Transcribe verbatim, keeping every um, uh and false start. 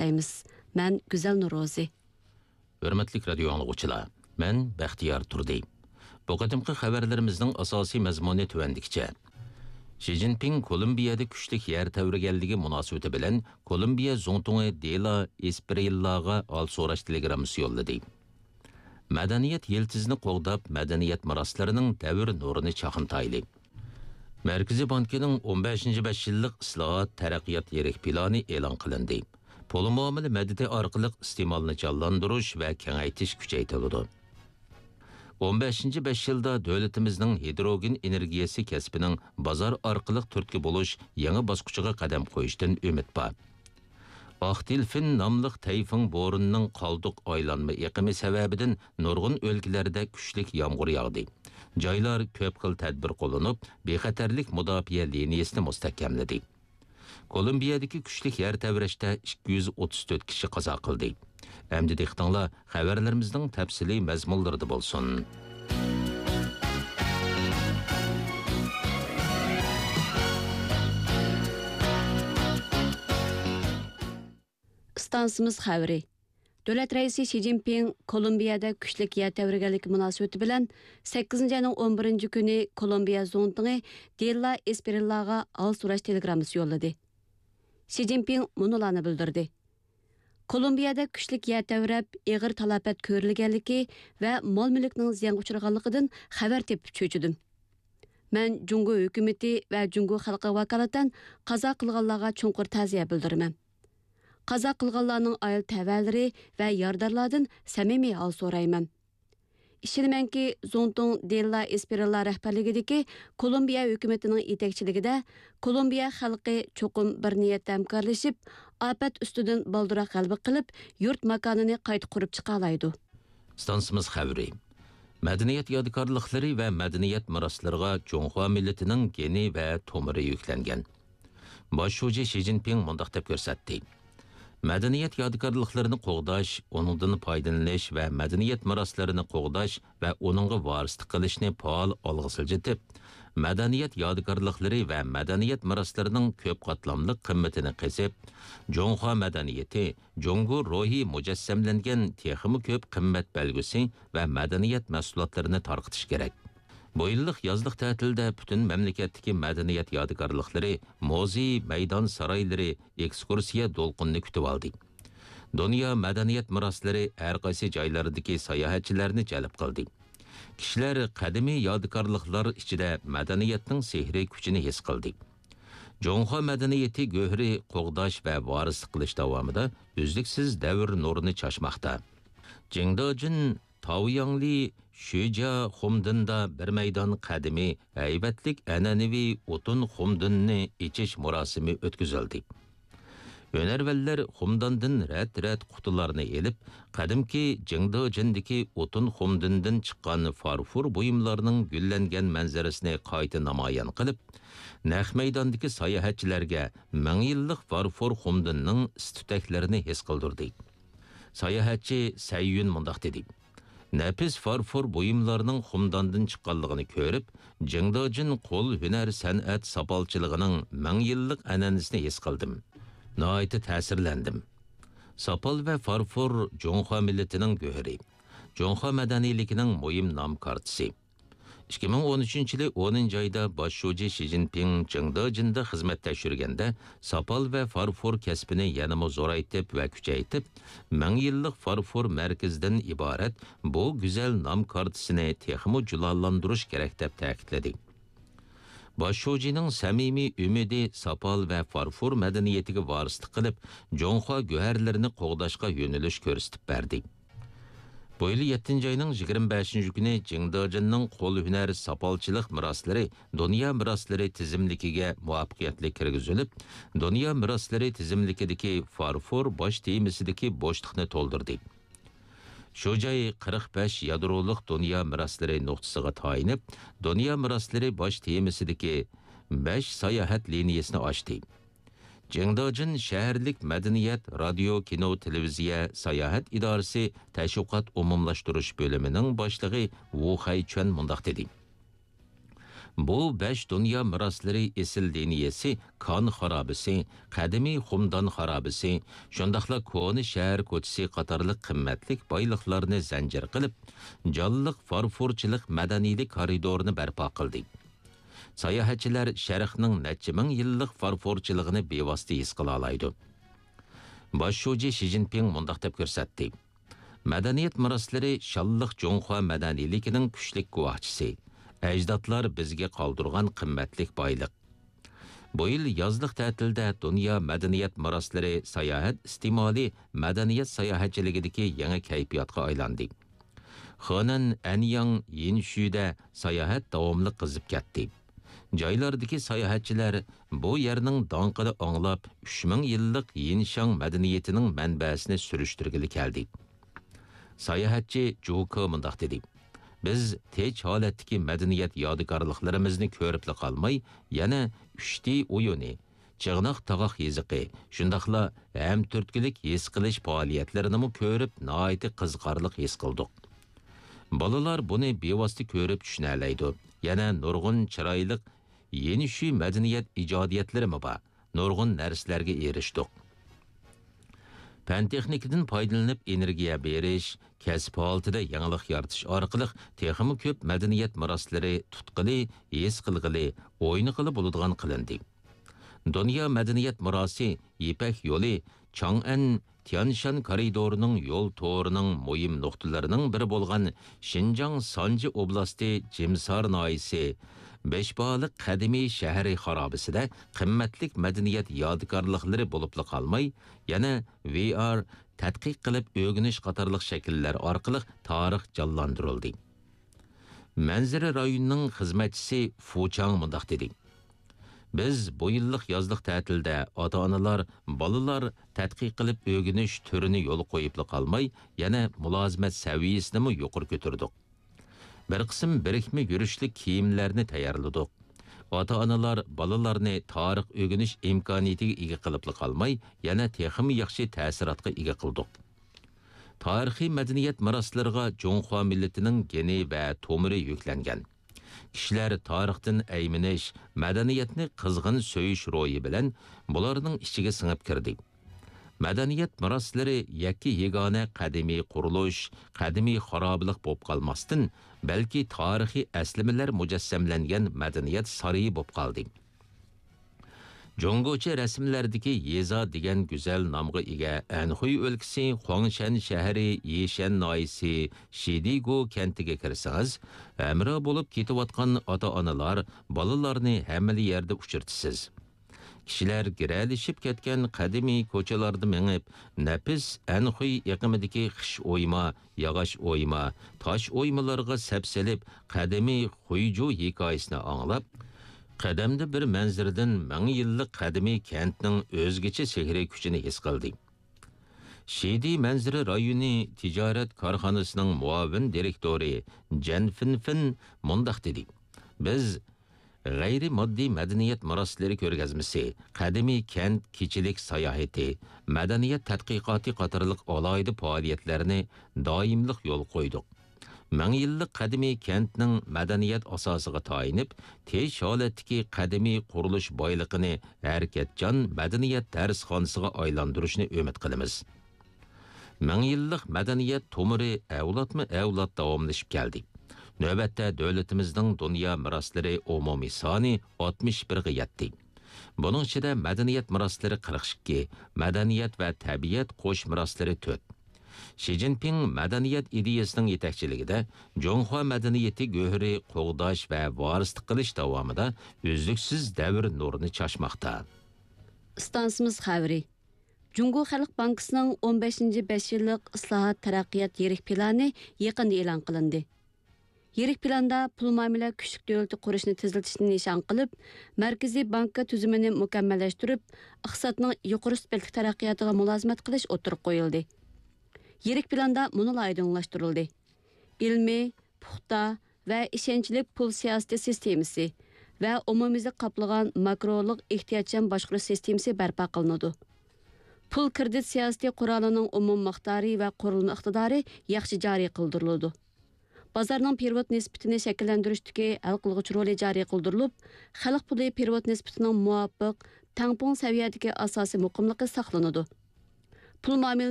تىلەيمىز. مەن گۈزەل نورۇزى. ھۆرمەتلىك رادىيو ئاڭلىغۇچىلار، مەن بەختىيار تۇردى. بۇ قېتىمقى خەۋەرلىرىمىزنىڭ ئاساسىي مەزمۇنى تۆۋەندىكىچە. شى جىنپىڭ كولومبىيەدە كۈچلۈك يەر تەۋرىگەنلىكى مۇناسىۋىتى بىلەن كولومبىيە زۇڭتۇڭى دېلا ئېسپرىللاغا ھال سوراش تېلېگراممىسى يوللىدى. مەدەنىيەت يىلتىزىنى قوغداپ، مەدەنىيەت مىراسلىرىنىڭ دەۋر نۇرىنى چاقنىتايلى. مەركىزىي بانكىنىڭ ئون بەشىنچى بەش يىللىق ئىسلاھات، تەرەققىيات يىرىك پىلانى ئېلان قىلىندى. پۇل مۇئامىلە مەدىتى ئارقىلىق ئىستېمالنى جانلاندۇرۇش ۋە كېڭەيتىش كۈچەيتىلىدۇ. ئون بەشىنچى بەش يىلدا دۆلىتىمىزنىڭ ھىدروگېن ئېنېرگىيەسى كەسپىنىڭ بازار ئارقىلىق تۈرتكە بولۇش يېڭى باسقۇچىغا قەدەم قويۇشتىن ئۈمىد بار. ئاق دېلفىن ناملىق تەيفۇڭ بورىنىنىڭ قالدۇق ئايلانما ئېقىمى سەۋەبىدىن نۇرغۇن ئۆلكىلەردە كۈچلۈك يامغۇر ياغدى. جايلار كۆپ خىل تەدبىر قوللىنىپ، بىخەتەرلىك مۇداپىئە لىنىيەسىنى مۇستەھكەملىدى. كولومبىيەدىكى كۈچلۈك يەر تەۋرەشتە ئىككى يۈز ئوتتۇز تۆت كىشى قازا قىلدى. ئەمدى دىققىتىڭلار خەۋەرلىرىمىزنىڭ تەپسىلىي مەزمۇنلىرىدا بولسۇن. ئىستانسىمىز خەۋىرى. دۆلەت رەئىسى شى جىنپىڭ كولومبىيەدە كۈچلۈك يەر تەۋرىگەنلىكى مۇناسىۋىتى بىلەن سەككىزىنچى ئاينىڭ ئون بىرىنچى كۈنى كولومبىيە زۇڭتۇڭى دېلا ئېسپرىللاغا ھال سوراش تېلېگراممىسى يوللىدى. شى جىنپىڭ مۇنۇلارنى بىلدۈردى. كولومبىيەدە كۈچلۈك يەر تەۋرەپ، ئېغىر تالاپەت كۆرۈلگەنلىكى ۋە مال-مۈلۈكنىڭ زىيانغا ئۇچرىغانلىقىدىن خەۋەر تېپىپ چۆچۈدۈم. مەن جۇڭگو ھۆكۈمىتى ۋە جۇڭگو خەلقىگە ۋاكالىتەن قازا قىلغانلارغا چوڭقۇر تەزىيە بىلدۈرىمەن. قازا قىلغانلارنىڭ ئائىلە تەۋەلىرى ۋە يارىدارلاردىن سەمىمىي ھال سورايمەن. ئىشىنىمەنكى، زۇڭتۇڭ دېللا ئېسپېرىللا رەھبەرلىكىدىكى كولومبىيە ھۆكۈمىتىنىڭ يېتەكچىلىكىدە كولومبىيە خەلقى چوقۇم بىر نىيەتتە ھەمكارلىشىپ، ئاپەت ئۈستىدىن بالدۇرراق غەلىبە قىلىپ، يۇرت ماكانىنى قايتا قۇرۇپ چىقالايدۇ. ئىستانسىمىز خەۋىرى. مەدەنىيەت يادىكارلىقلىرى ۋە مەدەنىيەت مىراسلىرىغا جۇڭخۇا مىللىتىنىڭ گېنى ۋە تومۇرى يۈكلەنگەن. باش شۇجى شى جىنپىڭ مۇنداق دەپ كۆرسەتتى: مەدەنىيەت يادىكارلىقلىرىنى قوغداش، ئۇنىڭدىن پايدىلىنىش ۋە مەدەنىيەت مىراسلىرىنى قوغداش ۋە ئۇنىڭغا ۋارىسلىق قىلىشنى پائال ئالغا سىلجىتىپ، مەدەنىيەت يادىكارلىقلىرى ۋە مەدەنىيەت مىراسلىرىنىڭ كۆپ قاتلاملىق قىممىتىنى قېزىپ، جۇڭخۇا مەدەنىيىتى، جۇڭگو روھى مۇجەسسەملەنگەن تېخىمۇ كۆپ قىممەت بەلگىسى ۋە مەدەنىيەت مەھسۇلاتلىرىنى تارقىتىش كېرەك. بۇ يىللىق يازلىق تەتىلدە پۈتۈن مەملىكەتتىكى مەدەنىيەت يادىكارلىقلىرى، مۇزېي، مەيدان سارايلىرى ئېكسكۇرسىيە دولقۇنىنى كۈتۈۋالدى. دۇنيا مەدەنىيەت مىراسلىرى ھەر قايسى جايلاردىكى ساياھەتچىلەرنى جەلپ قىلدى. كىشىلەر قەدىمىي يادىكارلىقلار ئىچىدە مەدەنىيەتنىڭ سېھرىي كۈچىنى ھېس قىلدى. جۇڭخۇا مەدەنىيىتى گۆھىرى قوغداش ۋە ۋارىسلىق قىلىش داۋامىدا ئۈزلۈكسىز دەۋر نۇرىنى چاچماقتا. جىڭدېجىن، تاۋياڭلى، شۈجيا خۇمدېندا بىر مەيدان قەدىمىي ھەيۋەتلىك ئەنئەنىۋى ئوتۇن خۇمدېنىنى ئېچىش مۇراسىمى ئۆتكۈزۈلدى. ھۈنەرۋەنلەر خۇمداندىن رەت-رەت قۇتىلارنى ئېلىپ، قەدىمكى جىڭدېجىندىكى ئوتۇن خۇمدىندىن چىققان فارفور بۇيۇملارنىڭ گۈللەنگەن مەنزىرىسىنى قايتا نامايان قىلىپ، نەق مەيداندىكى ساياھەتچىلەرگە مىڭ يىللىق فارفور خۇمدىننىڭ ئىس-تۈتەكلىرىنى ھېس قىلدۇردى. ساياھەتچى سەييۈن مۇنداق دېدى: نەپىس فارفور بۇيۇملارنىڭ خۇمداندىن چىققانلىقىنى كۆرۈپ، جىڭدېجىن قول ھۈنەر سەنئەت ساپالچىلىقىنىڭ مىڭ يىللىق ئەنئەنىسىنى ھېس قىلدىم. ناھايىتى تەسىرلەندىم. ساپال ۋە فارفور جۇڭخۇا مىللىتىنىڭ گۆھىرى، جۇڭخۇا مەدەنىيلىكىنىڭ مۇھىم نام كارتىسى. ئىككى مىڭ ئون ئۈچىنچى يىلى ئونىنچى ئايدا باش شۇجى شى جىنپىڭ جىڭدېجىندا خىزمەت تەكشۈرگەندە، ساپال ۋە فارفور كەسپىنى يەنىمۇ زورايتىپ ۋە كۈچەيتىپ، مىڭ يىللىق فارفور مەركىزىدىن ئىبارەت بۇ گۈزەل نام كارتىسىنى تېخىمۇ جۇلالاندۇرۇش كېرەك، دەپ تەكىتلىدى. باش شۇجىنىڭ سەمىمىي ئۈمىدى ساپال ۋە فارفور مەدەنىيىتىگە ۋارىسلىق قىلىپ، جۇڭخۇا گۆھەرلىرىنى قوغداشقا يۆنىلىش كۆرسىتىپ بەردى. بۇ يىل يەتتىنچى ئاينىڭ يىگىرمە بەشىنچى كۈنى جىڭدېجىننىڭ قول ھۈنەر ساپالچىلىق مىراسلىرى دۇنيا مىراسلىرى تىزىملىكىگە مۇۋەپپەقىيەتلىك كىرگۈزۈلۈپ، دۇنيا مىراسلىرى تىزىملىكىدىكى فارفور باش تېمىسىدىكى بوشلۇقنى تولدۇردى. شۇ جاي قىرىق بەش يادرولۇق دۇنيا مىراسلىرى نۇقتىسىغا تايىنىپ، دۇنيا مىراسلىرى باش تېمىسىدىكى بەش ساياھەت لىنىيەسىنى ئاچتى. جىڭدېجىن شەھەرلىك مەدەنىيەت، رادىيو، كىنو، تېلېۋىزىيە، ساياھەت ئىدارىسى تەشۋىقات ئومۇملاشتۇرۇش بۆلۈمىنىڭ باشلىقى ۋۇ خەيچۈەن مۇنداق دېدى: بۇ بەش دۇنيا مىراسلىرى ئېسىل لىنىيەسى كان خارابىسى، قەدىمىي خۇمدان خارابىسى، شۇنداقلا كونا شەھەر كوچىسى قاتارلىق قىممەتلىك بايلىقلارنى زەنجىر قىلىپ، جانلىق فارفورچىلىق مەدەنىيلىك كارىدورىنى بەرپا قىلدى. ساياھەتچىلەر شەرقنىڭ نەچچە مىڭ يىللىق فارفورچىلىقىنى بىۋاسىتە ھېس قىلالايدۇ. باش شۇجى شى جىنپىڭ مۇنداق دەپ كۆرسەتتى: مەدەنىيەت مىراسلىرى شانلىق جۇڭخۇا مەدەنىيلىكىنىڭ كۈچلۈك گۇۋاھچىسى. ئەجدادلار بىزگە قالدۇرغان قىممەتلىك بايلىق. بۇ يىل يازلىق تەتىلدە دۇنيا مەدەنىيەت مىراسلىرى ساياھەت ئىستېمالى مەدەنىيەت ساياھەتچىلىكىدىكى يېڭى كەيپىياتقا ئايلاندى. خېنەن، ئەنياڭ، يىنشۈدە ساياھەت داۋاملىق قىزىپ كەتتى. جايلاردىكى ساياھەتچىلەر بۇ يەرنىڭ داڭقىنى ئاڭلاپ، ئۈچ مىڭ يىللىق يىنشاڭ مەدەنىيىتىنىڭ مەنبەسىنى سۈرۈشتۈرگىلى كەلدى. ساياھەتچى جۇكې مۇنداق دېدى: بىز تىنچ ھالەتتىكى مەدەنىيەت يادىكارلىقلىرىمىزنى كۆرۈپلا قالماي، يەنە ئۈچ دى ئويۇنى، چىغناق تاغاق يېزىقى، شۇنداقلا ھەمتۈرتكىلىك ھېس قىلىش پائالىيەتلىرىنىمۇ كۆرۈپ، ناھايىتى قىزىقارلىق ھېس قىلدۇق. بالىلار بۇنى بىۋاسىتە كۆرۈپ چۈشىنەلەيدۇ. يەنە نۇرغۇن چىرايلىق يېنىشۈي مەدەنىيەت ئىجادىيەتلىرىمۇ بار. نۇرغۇن نەرسىلەرگە ئېرىشتۇق. پەن-تېخنىكىدىن پايدىلىنىپ ئېنېرگىيە بېرىش، كەسىپ ھالىتىدە يېڭىلىق يارىتىش ئارقىلىق تېخىمۇ كۆپ مەدەنىيەت مىراسلىرى تۇتقىلى، ھېس قىلغىلى، ئوينىغىلى بولىدىغان قىلىندى. دۇنيا مەدەنىيەت مىراسى يىپەك يولى چاڭئەن تيانشان كارىدورىنىڭ يول تورىنىڭ مۇھىم نۇقتىلىرىنىڭ بىرى بولغان شىنجاڭ سانجى ئوبلاستى جىمسار ناھىيەسى بەشبالىق قەدىمىي شەھىرى خارابىسىدە قىممەتلىك مەدەنىيەت يادىكارلىقلىرى بولۇپلا قالماي، يەنە ۋى ئار، تەتقىق قىلىپ ئۆگىنىش قاتارلىق شەكىللەر ئارقىلىق تارىخ جانلاندۇرۇلدى. مەنزىرە رايونىنىڭ خىزمەتچىسى فۇ چاڭ مۇنداق دېدى: بىز بۇ يىللىق يازلىق تەتىلدە ئاتا-ئانىلار، بالىلار تەتقىق قىلىپ ئۆگىنىش تۈرىنى يولغا قويۇپلا قالماي، يەنە مۇلازىمەت سەۋىيەسىنىمۇ يۇقىرى كۆتۈردۇق. بىر قىسىم بىرىكمە يۈرۈشلۈك كىيىملەرنى تەييارلىدۇق. ئاتا-ئانىلار بالىلارنى تارىخ ئۆگىنىش ئىمكانىيىتىگە ئىگە قىلىپلا قالماي، يەنە تېخىمۇ ياخشى تەسىراتقا ئىگە قىلدۇق. تارىخىي مەدەنىيەت مىراسلىرىغا جۇڭخۇا مىللىتىنىڭ گېنى ۋە تومۇرى يۈكلەنگەن. كىشىلەر تارىختىن ئەيمىنىش، مەدەنىيەتنى قىزغىن سۆيۈش روھى بىلەن بۇلارنىڭ ئىچىگە سىڭىپ كىردى. مەدەنىيەت مىراسلىرى يەككە يېگانە قەدىمىي قۇرۇلۇش، قەدىمىي خارابىلىق بولۇپ قالماستىن، بەلكى تارىخىي ئەسلىمىلەر مۇجەسسەملەنگەن مەدەنىيەت سارىيى بولۇپ قالدى. جۇڭگوچە رەسىملەردىكى يېزا دېگەن گۈزەل نامغا ئىگە ئەنخۇي ئۆلكىسى خۇاڭشەن شەھىرى يىشەن ناھىيەسى شىدىگو كەنتىگە كىرسىڭىز، ھەمراھ بولۇپ كېتىۋاتقان ئاتا-ئانىلار، بالىلارنى ھەممىلا يەردە ئۇچرىتىسىز. كىشىلەر گىرەلىشىپ كەتكەن قەدىمىي كوچىلاردا مېڭىپ، نەپىس ئەنخۇي ئېقىمىدىكى خىش ئويما، ياغاچ ئويما، تاش ئويمىلارغا سەپسېلىپ، قەدىمىي خۇيجۇ ھېكايىسىنى ئاڭلاپ، قەدەمدە بىر مەنزىرىدىن مىڭ يىللىق قەدىمىي كەنتنىڭ ئۆزگىچە سېھرىي كۈچىنى ھېس قىلدى. شىدى مەنزىرە رايونى تىجارەت كارخانىسىنىڭ مۇئاۋىن دىرېكتورى جەن فىنفىن مۇنداق دېدى: بىز غەيرىي ماددىي مەدەنىيەت مىراسلىرى كۆرگەزمىسى، قەدىمىي كەنت كېچىلىك ساياھىتى، مەدەنىيەت تەتقىقاتى قاتارلىق ئالاھىدە پائالىيەتلەرنى دائىملىق يولغا قويدۇق. مىڭ يىللىق قەدىمىي كەنتنىڭ مەدەنىيەت ئاساسىغا تايىنىپ، تىنچ ھالەتتىكى قەدىمىي قۇرۇلۇش بايلىقىنى ھەرىكەتچان مەدەنىيەت دەرسخانىسىغا ئايلاندۇرۇشنى ئۈمىد قىلىمىز. مىڭ يىللىق مەدەنىيەت تومۇرى ئەۋلادمۇ ئەۋلاد داۋاملىشىپ كەلدى. نۆۋەتتە دۆلىتىمىزنىڭ دۇنيا مىراسلىرى ئومۇمىي سانى ئاتمىش بىرگە يەتتى. بۇنىڭ ئىچىدە مەدەنىيەت مىراسلىرى قىرىق ئىككى، مەدەنىيەت ۋە تەبىئەت قوش مىراسلىرى تۆت. شى جىنپىڭ مەدەنىيەت ئىدىيەسىنىڭ يېتەكچىلىكىدە جۇڭخۇا مەدەنىيىتى گۆھىرى قوغداش ۋە ۋارىسلىق قىلىش داۋامىدا ئۈزلۈكسىز دەۋر نۇرىنى چاچماقتا. ئىستانسىمىز خەۋىرى. جۇڭگو خەلق بانكىسىنىڭ ئون بەشىنچى بەش يىللىق ئىسلاھات، تەرەققىيات يىرىك پىلانى يېقىندا ئېلان قىلىندى. يىرىك پىلاندا پۇل مۇئامىلە كۈچلۈك دۆلىتى قۇرۇشنى تېزلىتىشنى نىشان قىلىپ، مەركىزىي بانكا تۈزۈمىنى مۇكەممەللەشتۈرۈپ، ئىقتىسادنىڭ يۇقىرى سۈپەتلىك تەرەققىياتىغا مۇلازىمەت قىلىش ئوتتۇرىغا قويۇلدى. يىرىك پىلاندا مۇنۇلار ئايدىڭلاشتۇرۇلدى: ئىلمىي، پۇختا ۋە ئىشەنچلىك پۇل سىياسىتى سىستېمىسى ۋە ئومۇميۈزلۈك قاپلىغان ماكرولۇق ئېھتىياتچان باشقۇرۇش سىستېمىسى بەرپا قىلىنىدۇ. پۇل كىرېدىت سىياسىتى قورالىنىڭ ئومۇمىي مىقدارى ۋە قۇرۇلما ئىقتىدارى ياخشى جارى قىلدۇرۇلىدۇ. بازارنىڭ پېرېۋوت نىسبىتىنى شەكىللەندۈرۈشتىكى ھەل قىلغۇچ رولى جارى قىلدۇرۇلۇپ، خەلق پۇلى پېرېۋوت نىسبىتىنىڭ مۇۋاپىق، تەڭپۇڭ سەۋىيەدىكى ئاساسىي مۇقىملىقى ساقلىنىدۇ. پۇل مۇئامىلىنىڭ